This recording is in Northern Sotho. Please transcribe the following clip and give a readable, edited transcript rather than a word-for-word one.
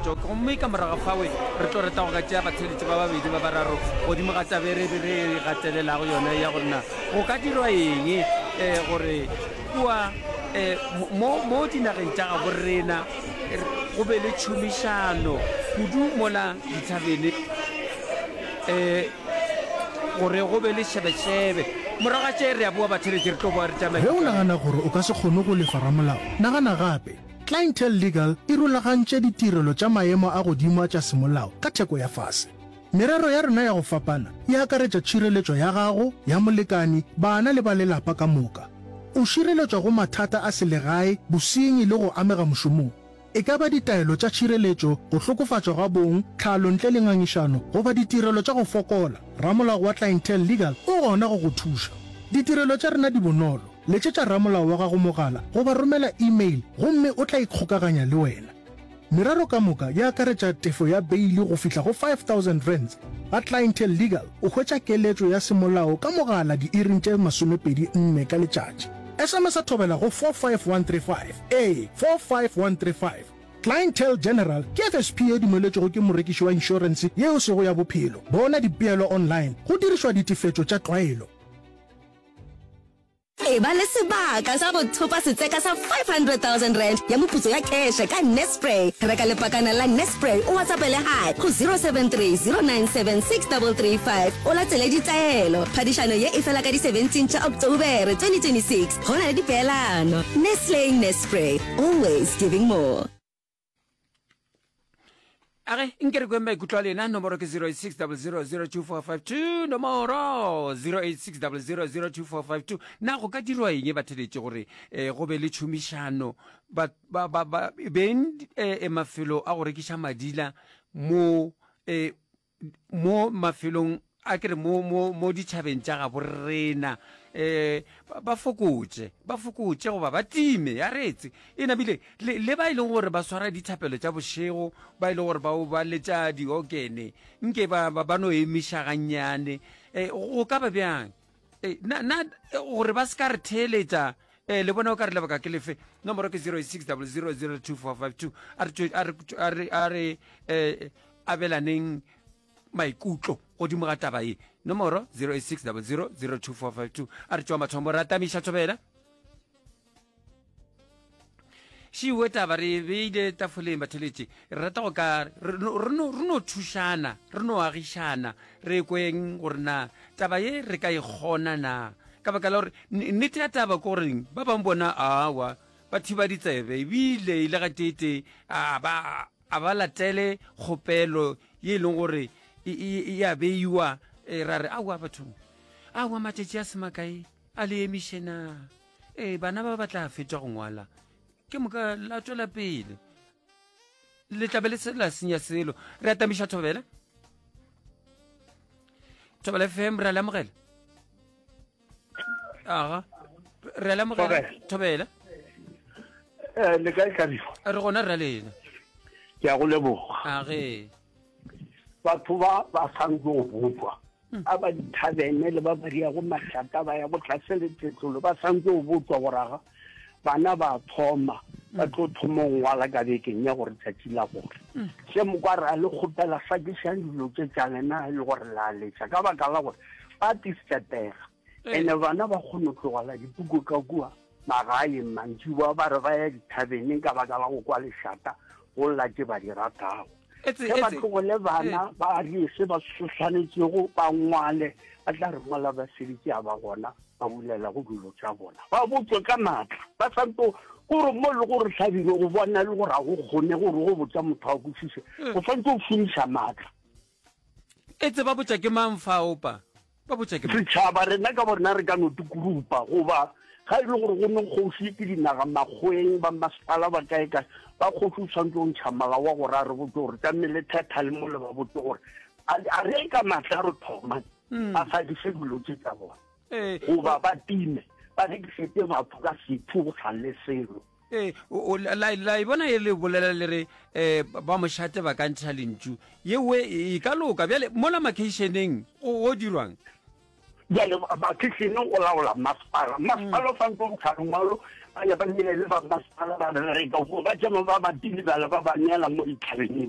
phethagatšo. Gomme ka morago ga fawe re tlo rata go ka tšea batheeletši ba babedi ba bararo godimo ga taba e re re e gatelelago yona ya gore na go ka dirwa eng um gore kua um mo mo dinageng tša gabo rena go be le tšhomišano kudu mola dithabene um gore go be le šebešebe. Morago ga tše re a boa batheeletši re tlo boa re tšama Ge o nagana gore o ka se kgone go lefa ramolao, nagana gape. Clientele Legal e rulagantše ditirelo tša maemo a godimo a tša semolao ka theko ya fase. Merero ya rena ya go fapana e akaretša tšhireletšo ya gago, ya molekani, bana le ba lelapa ka moka. O šireletšwa go mathata a selegae, bosenyi le go amega mošomong. E ka ba ditaelo tša tšhireletšo, go hlokofatšwa ga bong, tlhalo ntle le ngangišano, goba ditirelo tša go fokola, ramolao wa Clientele Legal o gona go go thuša. Ditirelo tša rena di bonolo. Letšetša ramolao wa gago mogala goba romela e-mail gomme o tla ikgokaganya le wena. Merero ka moka e akaretša tefo ya beili go fihla go R5000. Ga Clientele Legal o hwetša keletšo ya semolao ka mogala diiring tše 24 ka letšatši. SMS-a thobela go 45135. Ee, 45135. Clientele General ke FSP ye dumeletšwego ke morekiši wa inšorense ye e sego ya bophelo. Bona dipeelo online go dirišwa ditefetšo tša tlwaelo. Eba le sebaka sa go thopa setseka sa R500,000 ya moputso ya kheše ka Nespray. Reka lepakana la Nespray o WhatsAppele Hi go 073 097 6335 o latele ditaelo. Phadišano ye e fela ka di 17 tša Oktobere 2026. Go na le dipeelano. Nestle Nespray, always giving more. A ge nke re kweng maikutlo a lena nomoro ke 0860002452 nomoro 0860002452 na go ka dirwa eng batheletše gore um go be le tšhomišano ba, ba, ba, ba, beng eh, mafelo a go rekiša madila mo eh, mo mafelong a ke re mo, mo, mo ditšhabeng tša gabo rena um ba fokotše ba fokotše goba ba time ya retse e nabile le, le ba e leng gore ba swara dithapelo tša bošego ba e leng gore ba ba letša diokene nke ba, ba, ba no emiša gannyane um go ka ba bjang e, na, na gore ba se ka re theeletša um le bona o ka re lebaka ke lefe nomoro ke 06 000 2452 a re a re a re a re um abelaneng maikutlo godimo ga taba ye nomoro 086 00 02452 a re tšwa mathomo re atamiša thobela šiwe taba re e beile tafoleng batheletše re rata go ka re no thušana re no agišana re kweng gore na taba ye re ka e kgona na ka baka la gore nnete ya taba ke goreng ba bangwe bona awa ba thiba ditsebe ebile e le gateetee a ba A ba latele kgopelo ye e leng gore e, e, e a beiwa e, ra re aowa bathong aowa matšatši a se makae a le emiše na ee bana ba ba tla fetša go ngwala ke moka la tšwela pele le tlabe le se la senya selo re atamiša thobela thobela fm re a le amogela aga re a lemogela thobela eh, le kae tlabifo re gona rra lena ke a go leboga age batho ba ba santse go bopwa hmm. a ba dithabene le ba ba diago mašata ba ya go tlase le tletlolo ba santse go botswa goraga bana ba thoma ba tlo thoma go ngwala ka bekeng ya gore tšatši la gore hmm. se mokwa re a le kgopela sakišang dilo tše tša lena e le gore la letša ka baka la gore ba tisetega ene bana ba kgone go tlogela dipuku ka kua magaeng mantšiboa ba re ba ya dithabeneng ka baka la go kwa lešata go lla tše ba di ratago ge ba tlogole bana ba die se ba swanetšego ba ngwale ba tla re mola ba seditše a ba gona ba bulela go dilo tša bona ba botswe ka maatla ba santo gore mo le gore hlabile go bona le gore ga go kgone gore go botsa motho a kwešiše o swantse o šomiša maatla E tseba botša ke mang fa opa? Ba botša ke mang? Setšhaba rena ka borena re ka no tikulupa goba ga e le gore go ne kgoši ke dinaga makgoweng ba masepala ba kae kae ba kgoši o tshwanetse go ntšha molao wa gore a re botse gore tlamehile thetha le mole ba botse gore a re ka maatla re thoma hmm. ba fadiše dilo tse tsa bona goba ba time ba rekisetse batho ka setho go sa le selo Ee, la, la e bona e le bolela le re um ba mošate ba ka ntšha lentšu yewe e ka loka bjale mola makheišeneng go dirwang bjale makheišeneng o laola masepala masepala o santse o ntsha lengwalo ba ya ba neele ba masepala ba bereka ba tšama ba ba tile bjale ba ba neela mo dithabeneng.